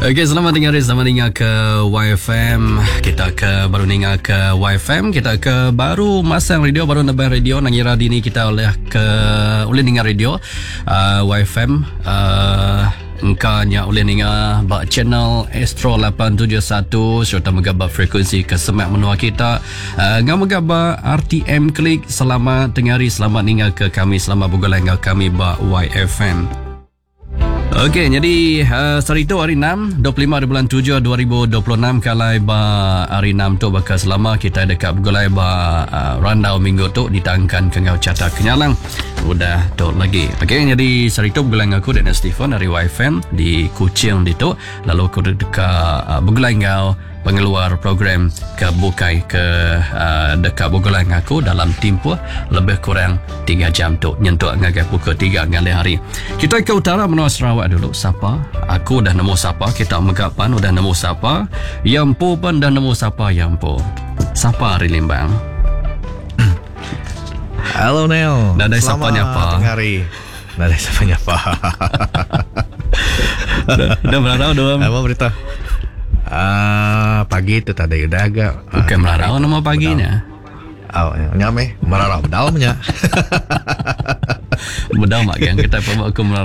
Okey, selamat tinggal hari, selamat tinggal ke YFM. Kita ke baru ninga ke YFM, kita ke baru masang radio, baru nebang radio nang ngira dini kita oleh ke ulih ninga radio uh, YFM uh, engka nya ulih ninga ba channel Astro 871 serta mega ba frekuensi ke semak menua kita. Uh, ngau mega ba RTM Klik. Selamat tengah hari, selamat ninga ke kami, selamat begulai enggau kami ba YFM. Okey, jadi uh, sehari tu hari 6, 25 hari bulan 7 2026 kalai ba hari 6 tu baka selama kita dekat begulai ba uh, randau minggu tu ditangkan ke enggau Carta Kenyalang udah tu lagi. Okey, jadi sehari tu begulai dengan aku Daniel Stephen dari YFM di Kuching ditu lalu aku deka uh, begulai enggau pengeluar program ke bukai ke uh, deka begulai dengan aku dalam timpuh lebih kurang 3 jam tu nyentuk ngagai pukul 3 ngalih hari. Kita ke utara menua Sarawak dulu. Sapa? Aku dah nemu sapa, kita mega pan udah nemu sapa. Ya empu pun dah nemu sapa ya empu. Sapa ari Limbang? Hello Neil. Nadai sapa nyapa. Tengah hari. Nadai sapa nyapa. Dah, dah merarau dah. Apa berita? Ah, pagi tu tadi udah agak. Bukan merarau nama paginya. Oh, nya meh merarau bedau nya. Bedau mak gang kita pun aku merarau.